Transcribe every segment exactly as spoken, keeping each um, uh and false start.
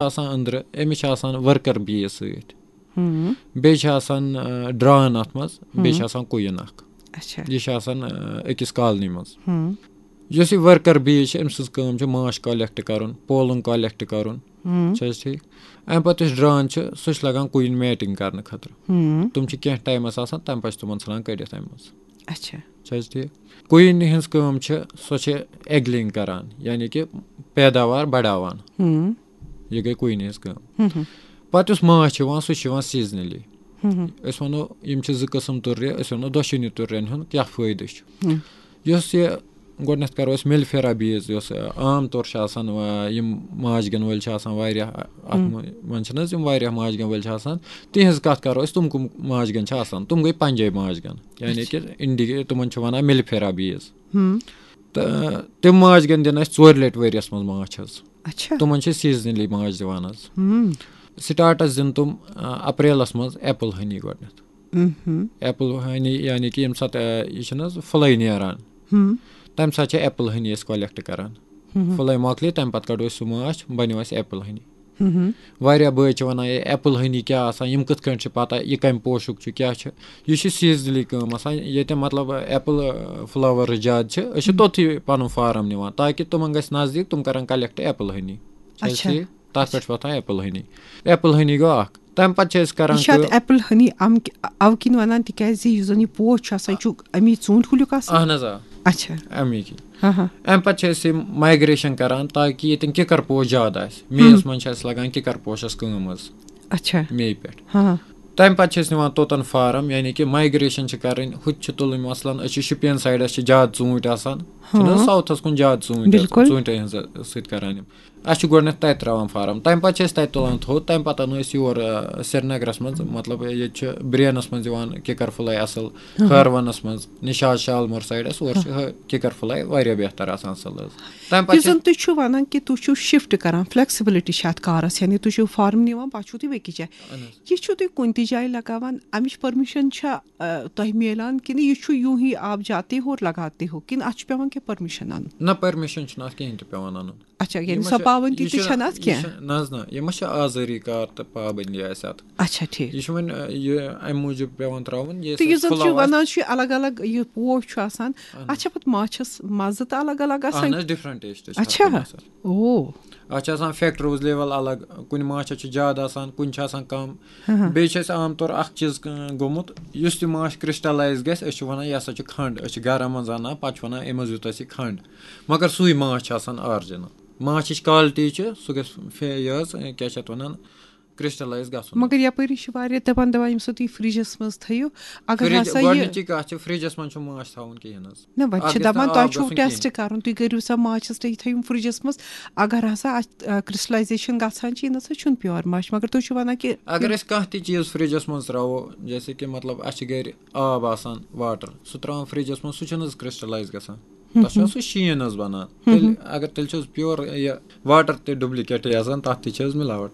آسان أنٛدرٕ، أمِس چھِ آسان ؤرکر بیس سۭتۍ، بیٚیہِ چھِ آسان ڈران اَتھ منٛز، بیٚیہِ چھِ آسان کویِن اکھ۔ اچھا۔ یہِ چھِ آسان أکِس کالنی منٛز۔ یۄس یہِ ؤرکر بیس چھِ، أمۍ سٕنٛز کٲم چھِ ماچھ کلیکٹ کرُن، پولُن کلیکٹ کرُن۔ چھِ حظ ٹھیٖک؟ اَمہِ پتہٕ یُس ڈران چھُ، سُہ چھُ لگان کویِن میٹنگ کرنہٕ خٲطرٕ۔ تِم چھِ کینٛہہ ٹایمس آسان، تَمہِ پتہٕ چھِ تِمن ژھٕنان کٔڑِتھ اَمہِ منٛز۔ اچھا۔ چھِ حظ ٹھیٖک؟ کویِن ہٕنٛز کٲم چھِ، سۄ چھِ ایگلنگ کران، یعنی کہِ پیداوار بڑاوان۔ یہِ گٔے کویِن ہٕنٛز کٲم۔ پتہٕ یُس ماچھ چھُ یِوان، سُہ چھُ یِوان سیزنلی۔ أسۍ وَنو، یِم چھِ زٕ قٕسم تُررِ، أسۍ وَنو دۄشوٕنی تُررٮ۪ن ہُنٛد کیٛاہ فٲیدٕ چھُ۔ یۄس یہِ گۄڈٕنٮ۪تھ کرو أسۍ مِلفیرا بیس، یۄس عام طور چھِ آسان، یِم ماچھ گن وٲلۍ چھِ آسان واریاہ، اَتھ منٛز چھِنہٕ حظ یِم واریاہ ماچھ گن وٲلۍ چھِ آسان، تِہنٛز کَتھ کرو أسۍ، تِم کٕم ماچھ گن چھِ آسان؟ تِم گٔے پنجٲبۍ ماچھ گن، یعنی کہِ انڈی، تِمن چھِ وَنان مِلفیرا بیس۔ تہٕ تِم ماچھ گن دِن اَسہِ ژورِ لٹہِ ؤریَس منٛز ماچھ حظ۔ اچھا۔ تِمن چھِ سیزنلی ماچھ دِوان حظ۔ سٹارٹس دِن تِم اپریلس منٛز ایپل ہنی گۄڈٕنٮ۪تھ۔ ایپل ہنی، یعنی کہِ ییٚمہِ ساتہٕ یہِ چھِنہٕ حظ فٕلے نیران، تمہِ ساتہٕ چھِ ایپل ہنی أسۍ کلیکٹ کران۔ فٕلے مۄکلے، تمہِ پتہٕ کڑو أسۍ سُہ ماچھ، بنیو اَسہِ ایپل ہنی۔ واریاہ بٲے چھِ وَنان، "ہے، ایپل ہنی کیٛاہ آسان؟ یِم کِتھ کٔنۍ چھِ پَتہ؟ یہِ کَمہِ پوشُک چھُ، کیٛاہ چھُ؟" یہِ چھِ سیزنلی کٲم آسان۔ ییٚتہِ مطلب ایپل فلاور زیادٕ چھِ، أسۍ چھِ توٚتھٕے پَنُن فارم نِوان، تاکہِ تِمن گژھِ نزدیٖک، تِم کَرَن کلیکٹ ایپل ہنی۔ چھِ حظ اچھا۔ ٹھیٖک؟ تَتھ پٮ۪ٹھ چھِ وۄتھان ایپل ہنی۔ ایپل ہنی گوٚو اکھ۔ تَمہِ پَتہٕ چھِ أسۍ کران یہِ چھِ اَتھ کٲم۔ ایپل ہنی اَمہِ کہِ-، اَوٕ کِنۍ وَنان، تِکیٛازِ یُس زَن یہِ پوش چھُ آسان، یہِ چھُ اَمی ژوٗنٛٹھۍ کُلیُک آسان۔ اہن حظ، آ۔ اچھا۔ اَمی کِنۍ۔ ہاں ہاں۔ اَمہِ پَتہٕ چھِ أسۍ یِم مایگریشن کران، تاکہِ ییٚتٮ۪ن کِکر پوش زیادٕ آسہِ۔ مییَس منٛز چھِ اَسہِ لگان کِکر پوشَس کٲم حظ، اچھا۔ میے پٮ۪ٹھ۔ ہاں۔ تَمہِ پَتہٕ چھِ أسۍ نِوان توٚتَن فارم، یعنی کہِ مایگریشن چھِ کَرٕنۍ۔ ہُتہِ چھِ تُلٕنۍ، مثلاً أسۍ چھِ شُپین سایڈَس چھِ زیادٕ ژوٗنٛٹھۍ آسان، چھِنہٕ حظ ہاں۔ ساوتھَس کُن زیادٕ ژوٗنٛٹھۍ آسان، بِلکُل۔ ژوٗنٛٹھٮ۪ن ہٕنٛز سۭتۍ کَران یِم۔ اَسہِ چھُ گۄڈٕنٮ۪تھ تَتہِ ترٛاوان فارم، تَمہِ پَتہٕ چھِ أسۍ تَتہِ تُلان تھوٚد، تَمہِ پَتہٕ اَنو أسۍ یور، آ، سرینگرَس منٛز، مطلب ییٚتہِ چھِ برینَس منٛز یِوان کِکر فٕلے اَصٕل، ہٲروَنَس منٛز، نِشاط شالمور سایڈَس، اورٕ چھِ ہٲ-، کِکر فٕلے واریاہ بہتر آسان اَصٕل حظ۔ تَمہِ پَتہٕ یُس چھِ زَن تُہۍ چھِو وَنان کہِ تُہۍ چھِو شفٹ کران، فلیکسیبلٹی چھِ اَتھ کارَس، یعنی تُہۍ چھِو فارم نِوان، پَتہٕ چھِو تُہۍ بیٚکِس جایہِ۔ یہِ چھِو تُہۍ کُنہِ تہِ جایہِ لگاوان، اَمِچ پٔرمِشن چھا، آ، تۄہہِ میلان کِنہٕ یہِ چھُ یوٗں ہی آپ جاتے ہو اور لگاتے ہو، کِنہٕ اَتھ چھُ پٮ۪وان کینٛہہ پٔرمِشن اَنُن؟ نہ، پٔرمِشن چھُنہٕ اَتھ کِہیٖنۍ تہِ پٮ۪وان اَنُن۔ اچھا، یعنی یہِ ما سۄ چھِ، پابندی یہِ تہِ چھُنہٕ، چھَنہٕ اَتھ یہِ کینٛہہ؟ چھُ، نہ حظ نہ، یہِ ما چھِ آزٲری کار تہٕ پابندی آسہِ اَتھ۔ اچھا، ٹھیٖک۔ یہِ چھُ وۄنۍ، آ، یہِ اَمہِ موٗجوٗب پٮ۪وان ترٛاوُن، یہِ تہٕ یُس زَن چھُ فُلاور وَنان چھُ، یہِ الگ الگ یہِ پوش چھُ آسان، اَہَن حظ۔ اَتھ چھا پَتہٕ ماچھَس مَزٕ تہٕ الگ الگ آسان؟ اَہَن حظ، ڈِفرنٹ ٹیسٹ چھِ اَتھ اچھا۔ کَران آسان۔ او۔ اَتھ چھِ آسان فیکٹروز لیول الگ، کُنہِ ماچھَس چھِ زیادٕ آسان، کُنہِ چھِ آسان کَم۔ ہاں۔ بیٚیہِ چھِ اَسہِ عام طور اَکھ چیٖز، ک-، گوٚمُت، یُس تہِ ماچھ کرسٹلائز گژھِ، أسۍ چھِ وَنان، یہِ ہسا چھُ کھنٛڈ، أسۍ چھِ گَرَم منٛز اَنان، پَتہٕ چھِ وَنان، أمۍ منٛز یوٗتاہ چھِ کھنٛڈ، مگر سُے ماچھ چھِ آسان آرجِنل۔ ماچھِچ کالٹی چھِ، سُہ گژھِ فے-، یہِ حظ، کیٛاہ چھِ اَتھ وَنان، کرسٹلائز گژھُن۔ مگر یَپٲری چھِ واریاہ دَپان، دَپان، ییٚمہِ ساتہٕ تُہۍ فرجَس منٛز تھٲیِو، اگر فریج، ہسا یہِ گۄڈٕنِچی کَتھ چھِ، فرجَس منٛز چھُ ماچھ تھاوُن کِہیٖنۍ حظ۔ نہ، وۄنۍ اَتھ چھِ گژھِ دَپان، نہٕ تۄہہِ آب چھُو گژھُن ٹیسٹ کِہیٖنۍ۔ کَرُن، تُہۍ کٔرِو سا ماچھَس، تُہۍ تھٲیِو فرجَس منٛز، اگر ہسا اَتھ، آ، کرسٹلائزیشن گژھان چھِ، یہِ نہ سا چھُنہٕ پیور ماچھ، مگر تُہۍ چھِو وَنان کہِ اگر أسۍ کانٛہہ تہِ چیٖز فرجَس منٛز ترٛاوو، جیسے کہِ مطلب اَسہِ چھِ گَرِ آب آسان، واٹر، سُہ ترٛاوان فرجَس منٛز، سُہ چھُنہٕ حظ کرسٹلائز گژھان؟ تَتھ چھُ سُہ شیٖن حظ بَنان۔ تیٚلہِ اگر، تیٚلہِ چھِ حظ پیور یہِ واٹر تہِ ڈُپلیکیٹٕے آسان، تَتھ تہِ چھِ حظ مِلاوَٹ۔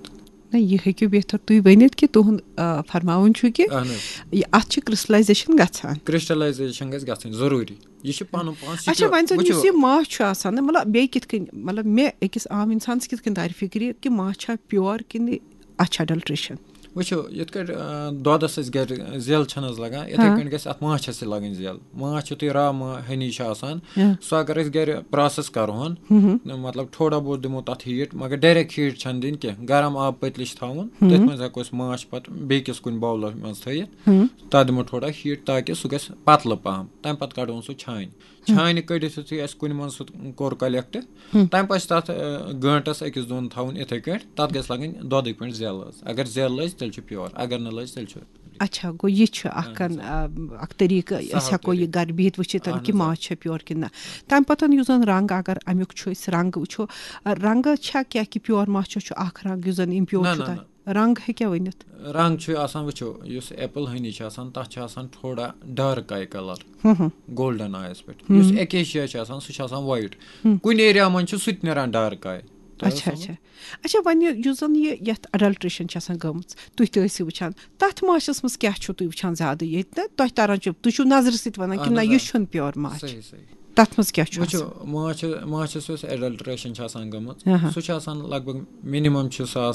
نہ، یہِ ہیٚکِو بہتر تُہۍ ؤنِتھ کہِ تُہُنٛد، آ، فرماوُن چھُ کہِ اہن حظ۔ یہِ، اَتھ چھِ کرسٹلائزیشن گژھان۔ کرسٹلائزیشن گژھِ گژھٕنۍ ضروٗری۔ یہِ چھُ پَنُن پان اچھا، سِکِل۔ وۄنۍ زَن یُس وٕچھِو۔ یہِ ماچھ چھُ آسان، نہ، مطلب، بیٚیہِ کِتھ کٔنۍ، مطلب، مےٚ أکِس عام اِنسانَس کِتھ کٔنۍ تَرِ فِکرِ کہِ ماچھ چھا پیور کِنہٕ اَتھ چھِ اَڈلٹریشن؟ وٕچھِو، یِتھ کٲٹھۍ، آ، دۄدَس أسۍ گَرِ زٮ۪ل چھَنہٕ حظ لَگان، یِتھَے ہاں۔ کٲٹھۍ گَژھِ اَتھ ماچھَس تہِ لَگٕنۍ زٮ۪ل۔ ماچھ یُتھُے را ما-، ہنی چھُ آسان، ہاں۔ سُہ اگر أسۍ گَرِ پرٛاسَس کَرٕہون، ہُم ہُم۔ مطلب، تھوڑا بہت دِمو تَتھ ہیٖٹ، مگر ڈایریکٹ ہیٖٹ چھَنہٕ دِنۍ کینٛہہ۔ گرم آب پٔتلہِ چھِ تھاوُن، ہُم۔ تٔتھۍ منٛز ہٮ۪کو أسۍ ماچھ پَتہٕ بیٚیہِ کِس کُنہِ باولَس منٛز تھٲیِتھ۔ ہُم۔ تَتھ دِمو تھوڑا ہیٖٹ، تاکہِ سُہ گژھِ پَتلہٕ پَہَم۔ تَمہِ پَتہٕ کَڑون سُہ چھانہِ۔ چھانہِ کٔڑِتھ یُتھُے اَسہِ کُنہِ منٛز سُہ کوٚر کلیکٹ، ہُم۔ تَمہِ پَتہٕ چھِ تَتھ، آ، گٲنٛٹَس أکِس دۄن تھاوُن یِتھَے کٲٹھۍ، تَتھ گژھِ لَگٕنۍ دۄدٕکۍ پٲٹھۍ زٮ۪ل حظ۔ اگر زٮ۪ل لٔج، تیٚلہِ چھُ پیور، اگر نہٕ لٔج، تیٚلہِ چھُ۔ اچھا، گوٚو یہِ چھُ اَکھ اہن حظ۔ کَن-، آ، اَکھ طریٖقہٕ، أسۍ سہل ہٮ۪کو یہِ طریٖقہٕ۔ گَرِ بِہِتھ وٕچھِتھ اہن کہِ حظ، آ۔ ماچھ چھا پیور کِنہٕ نہ۔ تَمہِ پَتہٕ یُس زَن رنٛگ، اگر اَمیُک چھُ أسۍ رنٛگ وٕچھو، آ، رنٛگہٕ چھا کینٛہہ کہِ پیور ماچھَس چھُ اَکھ رنٛگ یُس زَن اِمپیور نہ، چھُ نہ، تَتھ؟ نہ۔ رنٛگ ہیٚکیٛاہ ؤنِتھ؟ رنٛگ چھُ آسان، وٕچھو، یُس ایپل ہنی چھِ آسان، تَتھ چھِ آسان تھوڑا ڈارٕک آے کلر، ہُم ہُم۔ گولڈن آیَس پٮ۪ٹھ۔ ہُم۔ یُس ایکیشیا چھِ آسان، سُہ چھُ آسان وایِٹ۔ ہُم۔ کُنہِ ایریا منٛز چھُ سُہ تہِ نیران ڈارٕک آے۔ تۄہہِ اچھا، اوسوٕ؟ اچھا۔ اچھا، وۄنۍ یُس زَن یہِ یَتھ اڈلٹریشن چھِ آسان گٔمٕژ، تُہۍ تہِ ٲسِو وٕچھان، تَتھ ماچھَس منٛز کیٛاہ چھُو تُہۍ وٕچھان زیادٕ؟ ییٚتہِ نہ تۄہہِ تَران چھُ، تُہۍ چھِو نظرِ سۭتۍ وَنان کہِ اہن نہ، حظ، یہِ آ۔ چھُنہٕ پیور ماچھ۔ صحیح، صحیح۔ تَتھ منٛز کیٛاہ چھُ وٕچھِو، آسان؟ ماچھ ماچھَس یۄس ایڈلٹریشن چھِ آسان گٔمٕژ، آہا۔ سُہ چھُ آسان لگ بگ، مِنِمم چھُ سُہ آسان